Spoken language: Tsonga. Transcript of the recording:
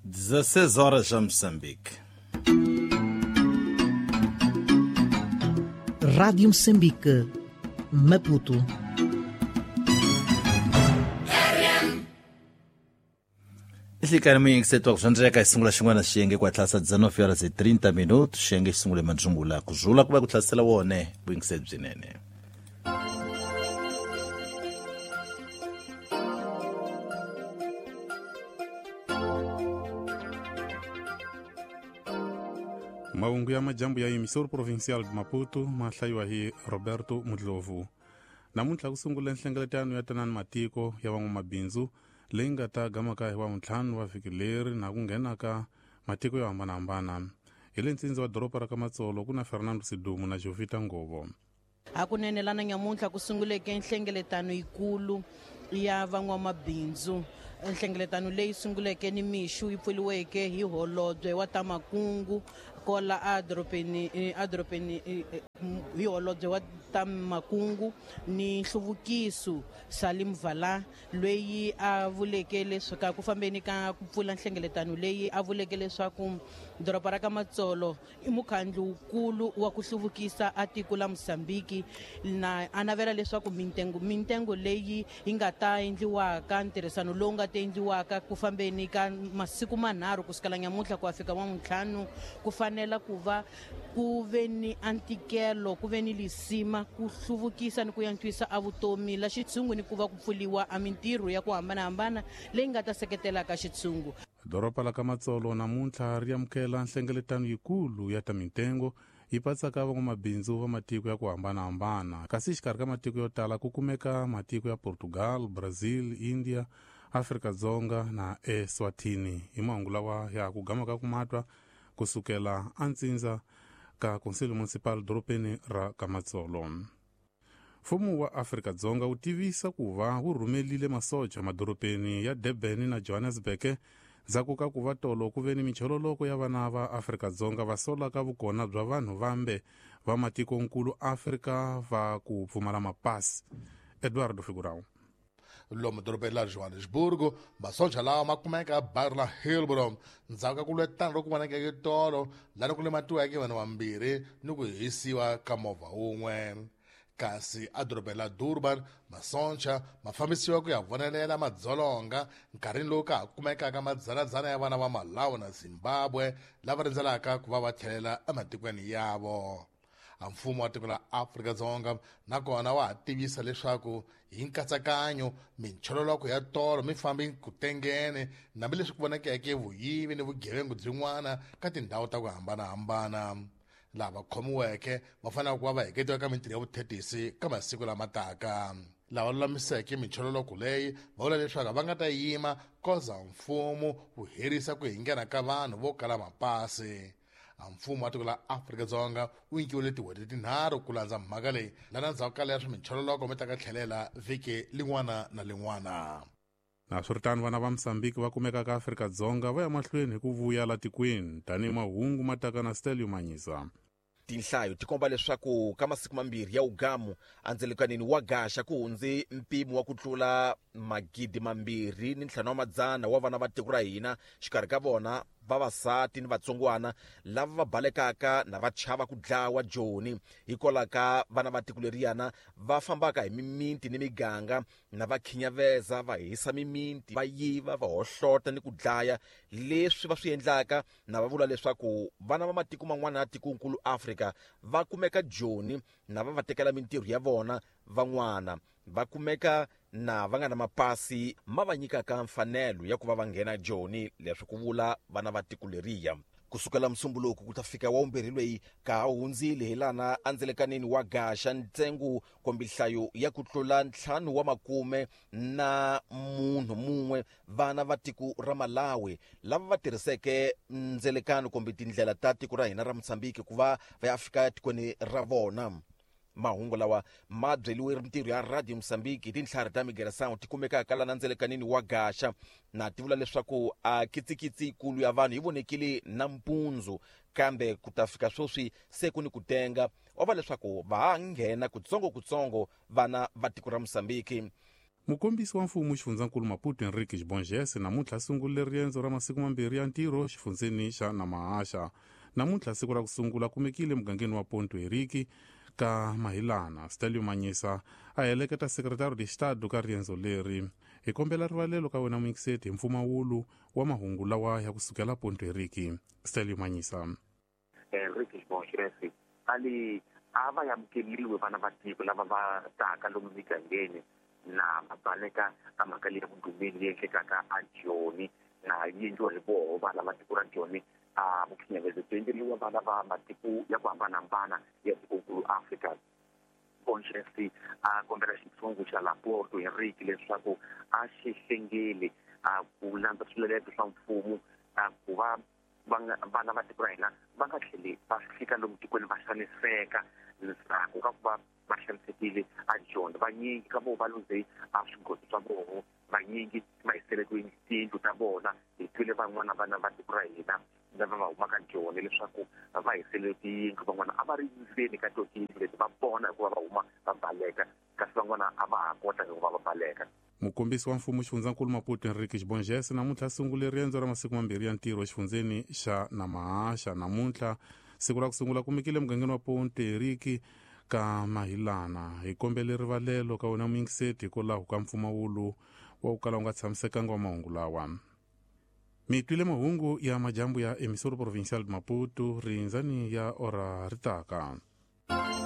16 horas já Moçambique. Rádio Moçambique, Maputo. Ihlikani muyingisetwa kuzvandireka isungula xin'wana xiyenge ku hatlasa 19 horas e 30 minutos xiyenge xi sungule mandzungula ku zula ku va ku hlasela wone vuyingiseri byinene. Mahungu ya majambu ya emissor provincial de Maputo ma hlayiwa hi Roberto Mudlovu. Namuntlha ku sungula nhlengeletano ya tanani matiko ya van'wamabindzu leyi nga ta gamaka hi wavuntlhanu wa vhiki leri na ku nghena ka matiko yo hambanahambana. Hi le ntsindza wa doroba ra ka Matsolo ku na Fernando Sidumu na Jovita Ngovo. Hakunene lana nyamuntlha ku sunguleke nhlengeletano yikulu ya van'wamabindzu. Nhlengeletano leyi sunguleke ni mixo yi pfuriweke hi holobye wa ta makungu kola edorobeni hi holobye wa ta makungu ni nhluvukiso Salim Vala, loyi a vuleke leswaku ku fambeni ka ku pfula nhlengeletano leyi a vuleke leswaku doroba ra ka Matsolo i mukhandlu wukulu wa ku hluvukisa a tiko la Mozambique, na a navela leswaku mintengo leyi yi nga ta endliwaka ntirhisano lowu nga ta endliwaka ku fambeni ka masiku manharhu kusukela nyamuntlha ku ya fika wavuntlhanu ku fanela ku va ku ve ni antikelo, ku ve ni lisima ku hluvukisa ni ku antswisa a vutomi la xitshungu ni ku va ku pfuriwa a mintirho ya ku hambanahambana leyi nga ta seketelaka xitshungu. Doroba la ka Matsolo namuntlha ri amukela nhlengeletano yikulu ya ta mintengo yi patsaka van'wamabindzu va matiko ya ku hambanahambana, kasi xikarhi ka matiko yo tala ku kumeka matiko ya Portugal, Brazil, India, Afrika-Dzonga na Eswatini. Hi mahungu lawa ya ku gamaka ku matwa kusukela antsindza ka Conselho Municipal dorobeni ra ka Matsolo. Mfumo wa Afrika-Dzonga wu tivisa ku va wu rhumelile masocha madorobeni ya Durban na Johannesburg ndzhaku ka ku va tolo ku ve ni michololoko ya vana va Afrika-Dzonga va solaka vukona bya vanhu vambe va matikonkulu Afrika va ku pfumala mapasi. Eduardo Figurão. Lomu dorobeni la Johannesburg, masocha lawa ma kumeka bairro la Hillbrow ndzhaku ka ku lwetana loku vonakeke tolo lani ku lematiweke vanhu vambirhi ni ku hisiwa ka movha wun'we. Kasi edorobeni la Durban, masocha ma fambisiwa ku ya vonelela madzolonga nkarhini lowu ka ha kumekaka madzanadzana ya vana va Malawi na Zimbabwe lava rindzelaka ku va va tlhelela ematikweni yavo. Mfumo wa tiko la Afrika-Dzonga nakona wa ha tivisa leswaku hi nkatsakanyo minchololoko ya tolo mi fambi ku tengene hambileswi ku vonakeke vuyivi ni vugevengu byin'wana ka tindhawu ta ku hambanahambana. Lava khomiweke va fanele ku va va heketiwa ka mintirho ya vuthetisi ka masiku lama taka. Lava lulamiseke minchololoko leyi va vula leswaku va nga ta yima koza mfumo wu herisa ku hingena ka vanhu vo kala mapasi. Mfumo wa tiko la Afrika-Dzonga wu nyikiwile tin'hweti tinharhu ku landza mhaka leyi lana ndzhaku ka leswi minchololoko mi ta ka tlhelela vhiki lin'wana na lin'wana. Naswiritano vana va Mozambique va kumeka ka Afrika-Dzonga va ya mahlweni hi ku vuya la tikweni tanihi mahungu ma taka na Stelio Manyisa. Tinhlayo ti komba leswaku ka masiku mambirhi ya ugamu andzelekanini wa gaxa ku hundze mpimo wa ku tlula 2,500 wa vana va tiko ra hina, xikarhi ka vona vavasati ni vatsongwana lava va balekaka na va chava ku dlawa joni hikwalaho ka vana va tiko leriyana va fambaka hi mimiti ni miganga na va khinyaveza, va hisa mimiti, va yiva, va hohlota ni ku dlaya. Leswi va swi endlaka na va vula leswaku vana va matiko man'wana ya tikonkulu Afrika va kumeka joni na va va tekela mintirho ya vona, van'wana va kumeka na va nga na mapasi ma va nyikaka mfanelo ya ku va va nghena joni, leswi ku vula vana va tiko leriya. Kusukela musumbuluko ku ta fika wa vumbirhi loyi ka ha hundzile hi lana andzelekanini wa gaxa ntsengo kumbe nhlayo ya ku tlula 50 na munhu mun'we vana va tiko ra Malawi lava va tirhiseke ndzelekano kumbe tindlela ta tiko ra hina ra Mozambique ku va va ya fika tikweni ra vona. Mahungu lawa ma byeliwe mintirho ya Radio Mozambique hi tintlhari ta migração ti kumekaka lana ndzelekanini wa gaxa, na ti vula leswaku a kitsikitsi yikulu ya vanhu yi vonekile nampundzu, kambe ku ta fika sweswi se ku ni ku tenga wa va leswaku va ha nghena kutsongo-kutsongo vana va tiko ra Mozambique. Mukombisi wa mfumo xifundzankulu Maputo Henrique Bongese namuntlha sungule riendzo ra masiku mambirhi ya ntirho xifundzeni xa Namahasha. Namuntlha siku ra ku sungula kumekile mugangeni wa Ponto Henrique ka Mahilana. Stelio Manyisa a heleketa Secretario de Estado ka riendzo leri. Hi kombela rivalelo ka wena muyingiseti hi mpfumawulo wa mahungu lawa ya kusukela Ponto Henrique. Stelio Manyisa. Henrique Bongese ali a va amukeliwe vana va tiko lava va taka lomu migangeni na va baleka ka mhaka leyi vudumeli leyi endlekaka a Joni na yi endliwa hi voho vana va tiko ra Joni. A vukhinyavezi byi endleriwa vana va matiko ya ku hambanahambana ya tikokulu Afrika. Bongese a kombela xitshungu xa la Porto Henrique leswaku a xi hlengeli a ku landza swiletelo swa mfumo a ku va vana va tiko ra hina va nga tlheli va fika lomu tikweni va xaniseka ndzhaku ka ku va va xanisekile a Joni. Vanyingi ka voho va luze a swigodo swa voho, vanyingi va hisele tiyindlu ta vona. Hi twile van'wana vana va tiko ra hina lava va humaka Joni leswaku va hisele tiyindlu, van'wana a va ri ndzeni ka to tiyindlu leti va pona hikuva va huma va baleka, kasi van'wana a va ha kota hikuva va baleka. Mukombisi wa mfumo xifundzankulu Maputo Henrique Bongese namuntlha sungule riendzo ra masiku mambirhi ya ntirho exifundzeni xa Namahasha. Namuntlha siku ra ku sungula kumekile mugangeni wa Ponto Henrique ka Mahilana. Hi kombele rivalelo ka wena muyingiseti hikwalaho ka mpfumawulo wa ku kala wu nga tshamisekanga wa mahungu lawa. Mi twile mahungu ya majambu ya Emissora Provincial de Maputo rindzani ya ora ritaka.